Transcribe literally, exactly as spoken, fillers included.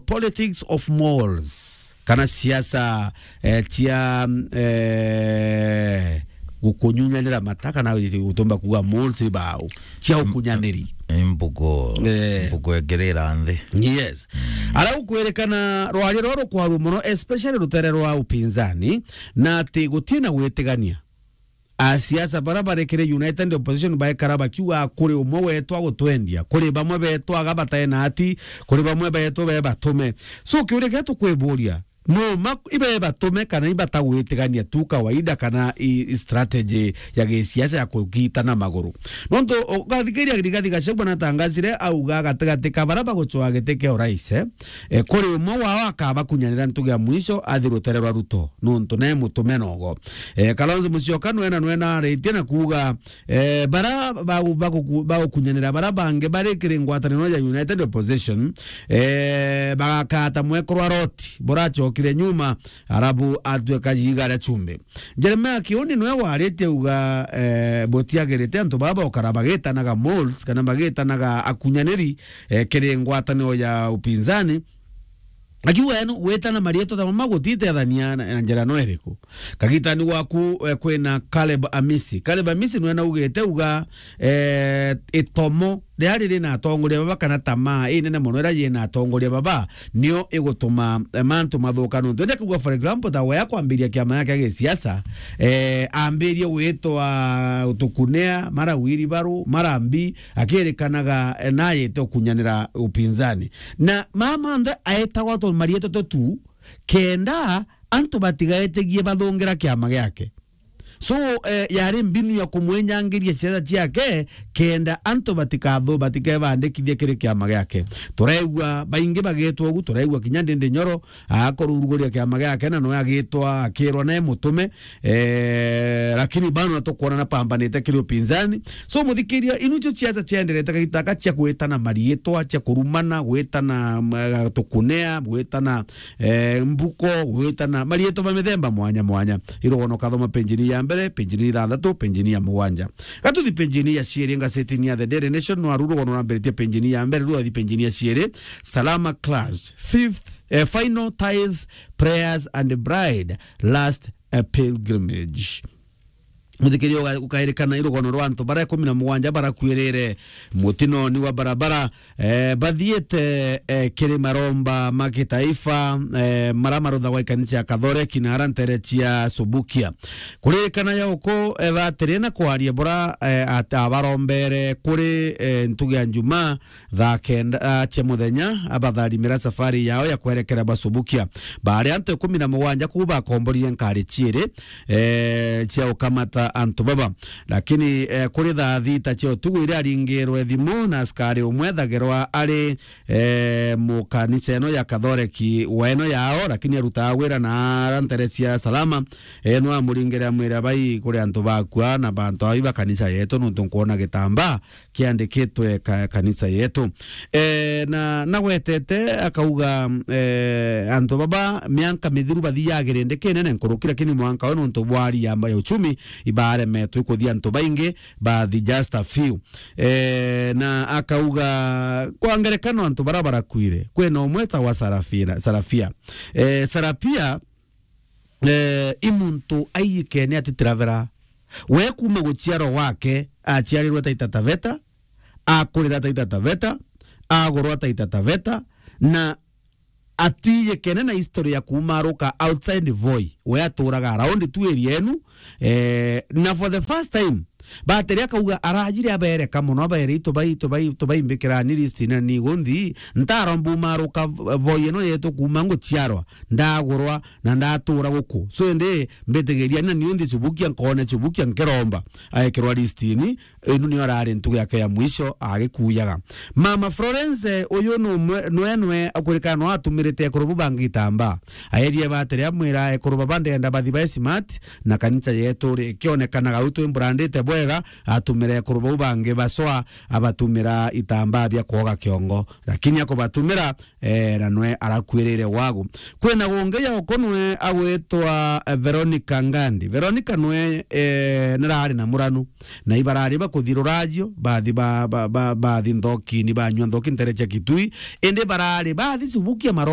politics of moles, kana siasa, eh, cia, eh, gukunyunyanira mata, kana gutumba kuuga moles ibau, cia ukunyaniri. Mbugo, eh, mbugo egirira nthi. Yes. Ara gukwirikana rwaria ruru rukwarwa mono, especially rutere rwa upinzani, na ati gutina gwitigania. Asiasa bara bari kiri United Opposition baikara bakiuga, "Kuri umwe wetu agutwendia, kuri bamwe betu aga batae na ati, kuri bamwe betu be batume." So, kiuria kiria tukwiburia, no ma ibe batume kana ibatagwitigania tu kawaida, kana i, i strategy ya gisiasa ya kugitana maguru? Nontu ugathikiria Rigathi Gachagua natangazire, auga gatigati ka bara bagucwaa giti kia urais, eh, eh, kuri umwe wao akabakunyanira ntugi ya mwisho athi rutere rwa Ruto, nontu ne mutume nogo. Eh, Kalonzo Musyoka nwena, nwena aritie na kuuga, eh, bara bagu-, baguku-, bagukunyanira bara bangi bari kiri ngwataniro ya United Opposition, eh, bagakata mwekuru wa Loti buracokire nyuma, arabu atweka jiiga ria chumbi. Jeremiah Kiuni nwe waritie uga, eh, butiagirite antu baba ukara bagitanaga moles kana bagitanaga akunyaniri, eh, kiri ngwataniro ya upinzani. Akiuga eno gwitana marietwa ta mama gutitethania na, na njira no iriku. Kagitani gwaku, eh, kwina Caleb Amisi. Caleb Amisi nwe naugite uga, eh, itomo riria riri na atongoria baba kana tamaa inene mono iria yina atongoria baba nio igutuma, eh, mantu mathuka nuntu. Indi kuuga, for example, ta we akwambiria kiama giake gia gisiasa, eh, ambirie gwitwa Tukunea, mara Wiribaru, mara Mbi, akirikanaga, eh, nayete ukunyanira upinzani. Na mama nthe aetagwa tu marietwa tu tu, kenda antu batigaetigie bathungira kiama giake. So, eh, yari mbinu ya kumwinyangiria ciaca ciake, kenda antu batikathu-, batikebandikithie kiri kiama giake. Turaigua baingi bagitwa ugu, turaigua kinya Ndindi Nyoro, akoruruguria kiama giake, na nwe agitwa, akirwa ne mutume, eh, lakini bado natukwona napambanite kiri upinzani. So, muthikiria, inu cio ciaca cienderete kagita gaka cia gwitana marietwa, cia kurumana, gwitana, mm, tukunea, gwitana, eh, mbuko, gwitana marietwa ma mithemba mwanya mwanya. Irugono kathoma penjini ya mbere, penjini ya ithanthatu, penjini ya mugwanja. Gatuthi penjini ya ciiri, ngasetini ya The Daily Nation, no aru rugono rambiritie penjini ya mbere, rwathi penjini ya ciiri, Salama Clash, fifth, eh, final tithe, prayers and bride, last, eh, pilgrimage. Muthikiria uga-, ukairikana irugono rwa antu bara ikumi na mugwanja barakuirire mutinoni wa barabara, eh, bathiite, eh, kiri maromba ma kitaifa, eh, mara maruthagwa ikanisa ya Kathoreki na ara ntere cia Subukia. Kuririkana ya uku, eh, batiri na kwaria bura, eh, at-, abarombere kuri, eh, ntugi ya Njumaa, thaa kenda, ah, cia muthenya, abatharimira safari yao ya kwerekera Basubukia. Baari antu ikumi na mugwanja kuu bakomborire nkari ciiri, eh, cia ukamata antu baba. Lakini, eh, kuri thaa thita cia utuku iria aringirwe thimu na askari umwe ethagirwa ari, eh, mukanisa eno ya Kathoreki wa eno yao, lakini arutaga wira na ara ntere cia Salama, eh, no amuringire amwire, "Bai kuri antu bakua na bantu ai ba kanisa yetu, nuntu nkwona gitambaa kiandikitwe ka-, kanisa yetu." Eh, na nagwetete akauga, eh, antu baba mianka mithiru bathiaga kirindi kinene nkuruki, lakini mwanka we nuntu bwa hali ya, ya uchumi ibaremetwe kuthia antu baingi, bathi just a few. Eh, na akauga kwa ngerekano antu bara barakuire, kwina umwe etagwa Sarafina, Sarafia. Eh, Sarafia eh, i muntu aiyikene atitiravera. We kuuma guciarwa gwake, aciarirwe Taita Taveta, akurira Taita Taveta, agurwa Taita Taveta, na atiyikene na history ya kuuma aruka outside Voi. We aturaga around tu area enu, eh, na for the first time, batiri akauga arajire abereka mono, abere, "Itubai, itubai, tubaimbikira ni list na ni gunthi, ntaromba umaruka Voi ino yetu kuuma nguciarwa, ndagurwa na ndatura guku. So indi mbitigiria na niu nthi Subukia, nkone Subukia nkiromba." Aekirwa list ini, inu niyo arari ntugu yake ya mwisho agikuyaga. Mama Florence, uyu numwe, nwe, nwe akwirikana no atumirite ekuru bu bangi gitambaa. Aerie batiri amwira ekuru baba ndenda bathi bae smart, na kanisa yetu ri ikionekanaga u twi mburandite bwega, atumire ekuru bau bangi bacwa, abatumira itambaa bia kwoga kiongo. Lakini akubatumira, eh, na nwe arakuirire wagu. Kwina gungi ya uko nwe agwitwa, eh, Veronica Ngandi. Veronica nwe, eh, nirari na muranu. Na ibarari ba kuthi ruracio, bathi ba, ba, ba, bathi nthokini, banyua nthoki ntere cia Kitui, indi barari bathi cubukia maro